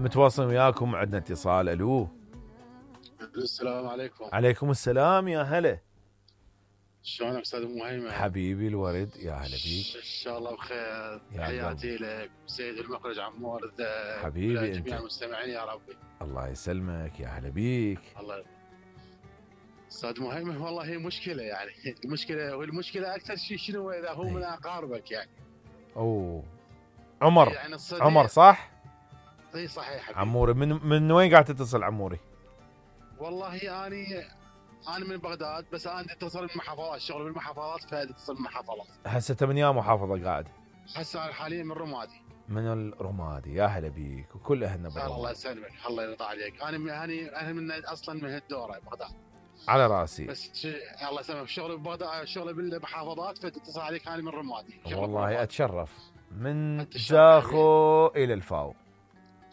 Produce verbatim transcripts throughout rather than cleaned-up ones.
متواصل وياكم، عندنا اتصال. الو السلام عليكم. عليكم السلام، يا هلا. شلونك استاذ مهيمن؟ حبيبي الورد، يا هلا بيك. ان شاء الله بخير. تحياتي لك سيد المخرج عمور الذهب، حبيبي جميع انت. المستمعين يا ربي. الله يسلمك، يا هلا بيك. الله. استاذ مهيمن والله هي مشكله، يعني المشكله والمشكله اكثر شيء شنو اذا هو من اقاربك يعني. اوه عمر، يعني عمر صح؟ اي صحيح حبيبي. عموري، من من وين قاعد تتصل عموري؟ والله اني انا من بغداد، بس انا اتصل بالمحافظات، الشغل بالمحافظات فاتصل بالمحافظات. هسه انت من يا محافظه قاعد؟ هسه انا حاليا من رمادي. من الرمادي، يا هلا بيك وكل اهلنا بالرمادي. الله يسلمك، الله يرضى عليك. انا من انا انا من اصلا من هالدوره بغداد. على راسي. بس الله يسلمك، شغلي ببغداد، شغلي بالمحافظات، فتتصل عليك انا من رمادي. والله اتشرف من زاخو الى الفاو.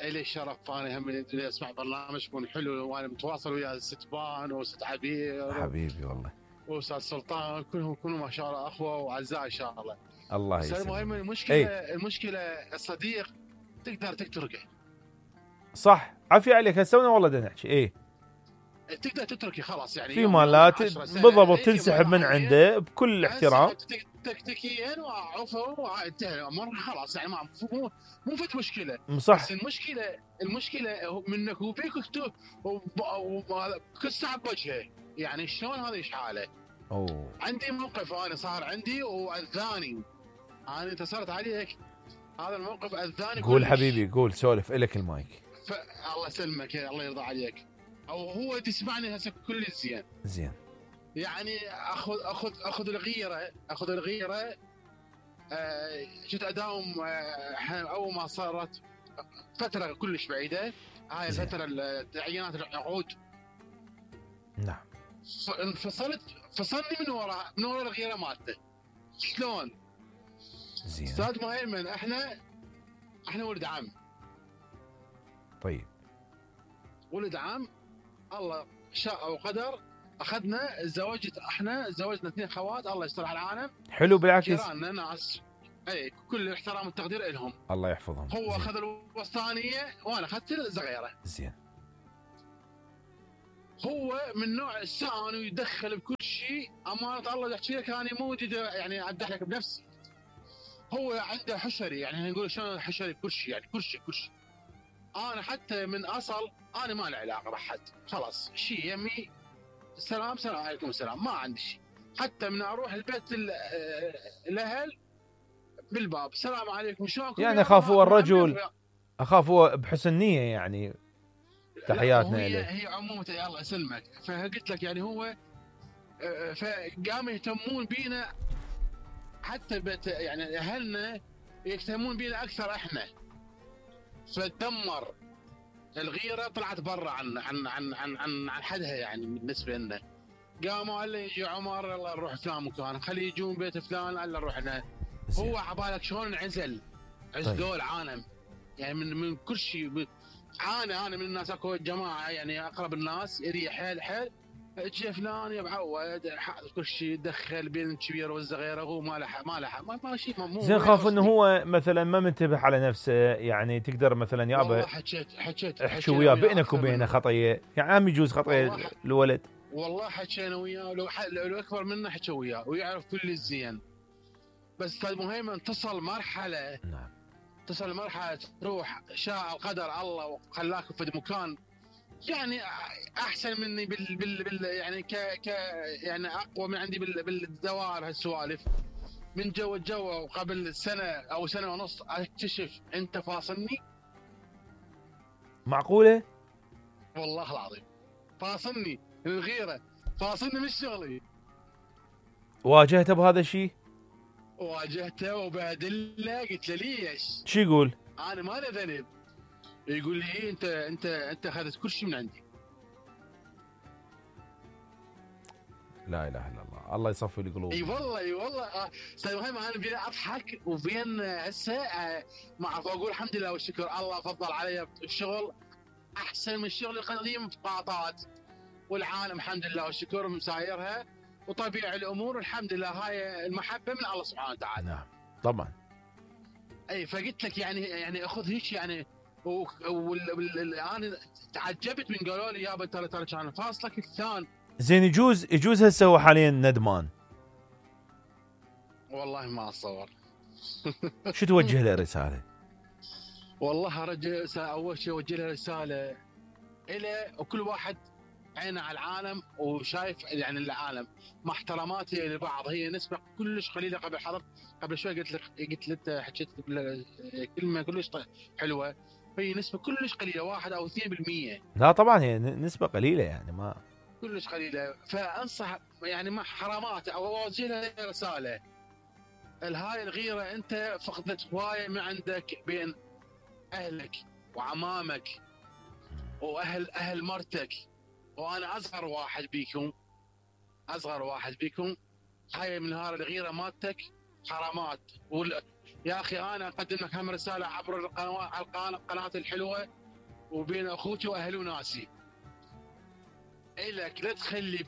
الي الشرف، انا هم اللي اسمع برنامجكم حلو، وانا متواصل ويا الست بان وست عبير. حبيبي والله. واستاذ سلطان، كلهم كلهم ما شاء الله اخوه واعزاء ان شاء الله. الله يسلمك. المهم المشكله ايه؟ المشكله الصديق تقدر تتركه. صح، عافيه عليك. هسه والله بدنا نحكي ايه، تقدر تتركه خلاص يعني. في مالات بالضبط تنسحب من عنده بكل احترام تكتيكيا وعفوا وانتهى الامر خلاص، يعني ما مو مو فت مشكله. صح. بس المشكله المشكله منك وبيك كل ساعه بوجهه، يعني شلون هذا ايش حاله؟ اوه عندي موقف انا صار عندي واذاني، انا اتصلت عليك هذا الموقف اذاني. قول حبيبي قول، سولف، الك المايك. الله يسلمك، الله يرضى عليك. او هو يسمعني هسه كل زين زين، يعني اخذ اخذ اخذ الغيره اخذ الغيره آه كنت اداوم آه اول ما صارت فتره كلش بعيده، هاي الفتره تعيينات العقود. نعم. انفصلت، فصلني من وراء من وراء الغيره مالته. شلون؟ زين استاذ مهيمن، احنا احنا ولد عم. طيب ولد عم، الله شاء وقدر اخذنا زوجت، احنا زوجنا اثنين خوات، الله يستر على العالم. حلو بالعكس. جيراننا ناس اي كل الاحترام والتقدير لهم، الله يحفظهم. هو اخذ الوسطانيه وانا اخذت الصغيره. زين. هو من نوع السان ويدخل بكل شيء، امانه الله احكي لك انا مو يعني امدح لك بنفسي. هو عنده حشري، يعني نقول شلون حشري بكل شيء، يعني كل شيء كل شيء. انا حتى من اصل انا ما لي علاقه بحد، خلاص شيء يمي سلام سلام عليكم السلام، ما عندي شيء. حتى من اروح البيت الاهل بالباب السلام عليكم شلونكم، يعني اخاف هو الرجل، اخاف هو بحسن نيه يعني. تحياتنا اليه. هي عموما الله يسلمك، فقلت لك يعني هو فقاموا يهتمون بينا، حتى بيت يعني اهلنا يهتمون بينا اكثر احنا. فتدمر الغيره، طلعت برا عن عن عن عن عن, عن حدها يعني بالنسبه لنا. قاموا قال لي يجي عمر يلا نروح فلان مكان، خليه يجون بيت فلان قال نروح هنا. هو عبالك شلون انعزل، عزلوا العالم يعني من من كل شيء. عانى انا من الناس، اكو جماعه يعني اقرب الناس يريح حيل حيل، اجى فلان يا معود كل شيء يدخل بين الكبير والصغير، هو ما له ما له ما, ما شيء مو زين. خاف انه هو مثلا ما منتبه على نفسه، يعني تقدر مثلا يابا والله حكيت حكيت احكي وياه بينك وبينه خطيه، يعني عم يجوز خطيه الولد. والله حكينا وياه، لو لو اكبر منه حكى وياه ويعرف كل الزين. بس استاذ مهيمن تصل مرحله، نعم تصل مرحله تروح شاء القدر الله وخلاك في مكان يعني احسن مني بال, بال, بال يعني ك ك يعني اقوى من عندي بال بالدوائر هالسوالف. من جو الجو وقبل سنه او سنه ونص اكتشف انت فاصلني. معقوله؟ والله العظيم فاصلني الغيره، فاصلني من شغلي. واجهته بهذا الشيء؟ واجهته وبهدله، قلت له ليش؟ شو يقول؟ انا ما لي ذنب. يقول لي إيه انت انت انت اخذت كل شيء من عندي. لا اله الا الله، الله يصفي القلوب. اي والله اي والله استاذ مهيمن، انا بين اضحك وبين هسه ما اعرف اقول الحمد لله والشكر، الله فضل علي الشغل احسن من الشغل القديم في قاطات، والعالم الحمد لله والشكر مسايرها وطبيعي الامور الحمد لله. هاي المحبه من الله سبحانه وتعالى. نعم طبعا. اي فقلت لك يعني يعني اخذ هيك يعني وانا تعجبت من قالوا لي يابا ترى ترى كان فاصلك الثاني. زين يجوز يجوز هسه هو حاليا ندمان. والله ما اتصور. شو توجه له رساله؟ والله ارجع اول شيء اوجه له رساله الى وكل واحد عينه على العالم وشايف يعني العالم مع احتراماتي لبعض. هي نسبه كلش قليله. قبل حضرت قبل شوي قلت لك قلت لك حكيت كلمه كلش حلوه. هي نسبه كلش قليله واحد او اثنين بالمية. لا طبعا هي نسبه قليله يعني ما كلش قليله. فانصح يعني مع حرامات او اوجه له رساله. الهاي الغيره انت فقدت هوايه من عندك بين اهلك وعمامك واهل اهل مرتك. وانا اصغر واحد بيكم اصغر واحد بيكم. هاي من هاي الغيره مالتك حرامات. وال... يا اخي انا اقدم لك هم رساله عبر القنوات القناه الحلوه وبين اخوتي واهلي وناسي. الك لا تخلي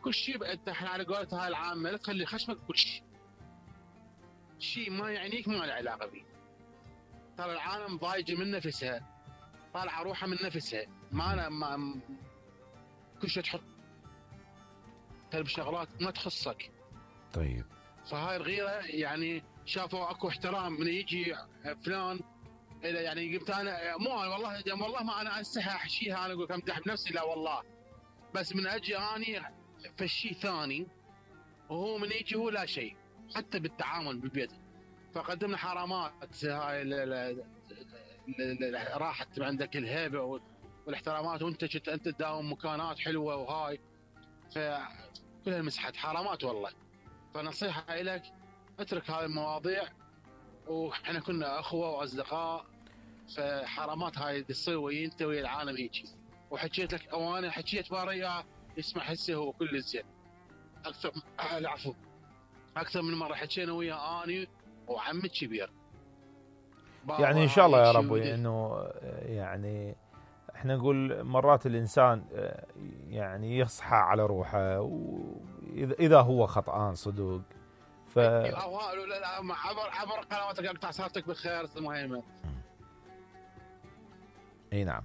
كل شيء انت احنا على قولة هاي العامه لا تخلي خشمك كل شيء. شيء ما يعنيك ما له علاقه به. ترى العالم ضايجه من نفسها طالعه روحها من نفسها. ما انا ما كل شيء تحط بشغلات ما تخصك. طيب فهاي الغيره يعني شافوا اكو احترام من يجي فلان اذا يعني قمت انا مو والله والله ما انا استحي احشيها انا اقول لك امدح بنفسي لا والله. بس من اجي اني فشي ثاني وهو من يجي هو لا شيء حتى بالتعامل بالبيت. فقدمنا حرامات هاي راحت عندك الهيبه والاحترامات وانت كنت انت تداوم مكانات حلوه وهاي فكلها مسحت حرامات والله. فنصيحه لك اترك هاي المواضيع. واحنا كنا اخوه واصدقاء. فحرامات هاي تصير ويا انت ويا العالم هيك. وحكيت لك او انا حكيت باريا يسمع هسه هو كل زين اكثر. العفو اكثر من مره حكينا ويا اني وعمي الكبير. يعني ان شاء الله يا رب انه يعني احنا نقول مرات الانسان يعني يصحى على روحه واذا هو خطأان صدق. ف عبر عبر قنواتك اقطع صلاتك بالخير المهمه. اي نعم.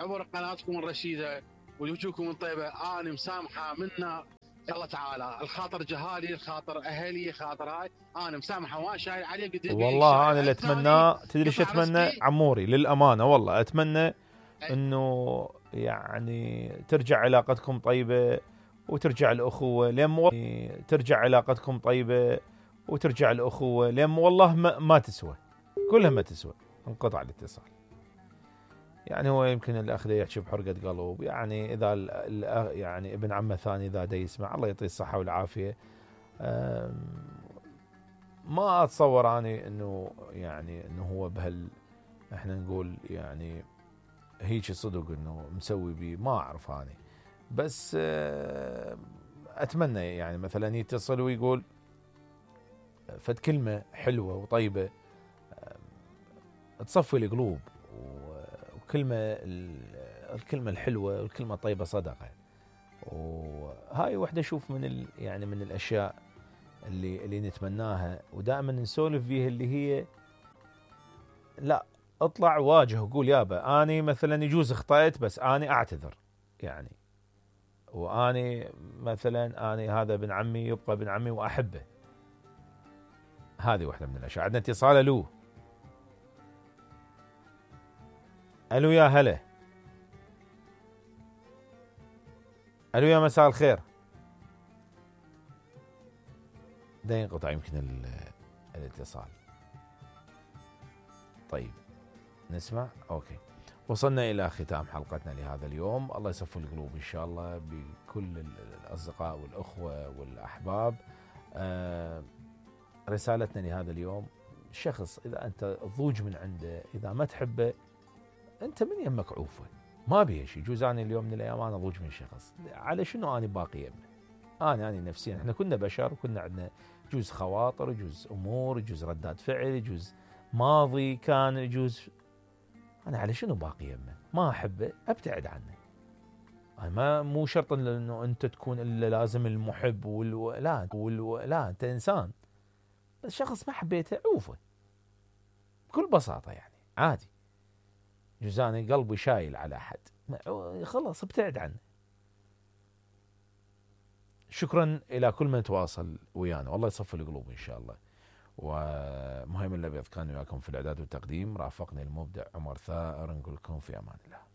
عبر قناتكم الرشيده وجوهكم الطيبه انا مسامحه منا الله تعالى. الخاطر جهالي الخاطر اهلي الخاطر هاي انا مسامحه وما شايل عليه قد والله انا اللي اتمناه تدري ايش اتمنى عموري للامانه والله اتمنى انه يعني ترجع علاقتكم طيبه وترجع الاخوه لم ترجع علاقتكم طيبه وترجع الاخوه لم والله ما, ما تسوى كلها ما تسوى انقطع الاتصال. يعني هو يمكن الاخ ده يحكي بحرقه قلب. يعني اذا يعني ابن عمه ثاني اذا دا يسمع الله يعطيه الصحه والعافيه. ما اتصور اني انه يعني انه هو بهال احنا نقول يعني هيك صدق انه مسوي بي ما اعرف اني. بس اتمنى يعني مثلا يتصل ويقول فد كلمه حلوه وطيبه تصفي القلوب. وكلمه الكلمه الحلوه والكلمه الطيبه صدقه. وهاي وحده اشوف من ال يعني من الاشياء اللي اللي نتمناها ودائما نسولف فيها اللي هي لا اطلع واجه وقول يابا اني مثلا يجوز اخطأت بس اني اعتذر يعني. واني مثلا اني هذا ابن عمي يبقى ابن عمي واحبه. هذه واحده من الاشياء. عندنا اتصال. الو الو يا هلا. الو يا مساء الخير. ده ينقطع يمكن الاتصال. طيب نسمع. اوكي وصلنا الى ختام حلقتنا لهذا اليوم. الله يصفي القلوب ان شاء الله بكل الاصدقاء والاخوه والاحباب. آه رسالتنا لهذا اليوم شخص اذا انت ضوج من عنده اذا ما تحبه انت من يمك عوفه ما بيه شيء. جوز انا اليوم من الايام انا ضوج من شخص على شنو انا باقي يمه. انا انا نفسيا احنا كنا بشر وكنا عندنا جزء خواطر جزء امور جزء ردات فعل جزء ماضي كان يجوز. انا على شنو باقي يمه ما احبه ابتعد عنه. انا ما مو شرط انه انت تكون الا لازم المحب والو... لا والو... لا انت انسان بس شخص ما حبيته عوفه بكل بساطه يعني عادي. جزاني قلبي شايل على أحد، خلاص ابتعد عنه. شكرا إلى كل من تواصل ويانا، والله يصفي القلوب إن شاء الله. ومهيمن الأبيض كان وياكم في الإعداد والتقديم، رافقني المبدع عمر ثائر، نقول لكم في أمان الله.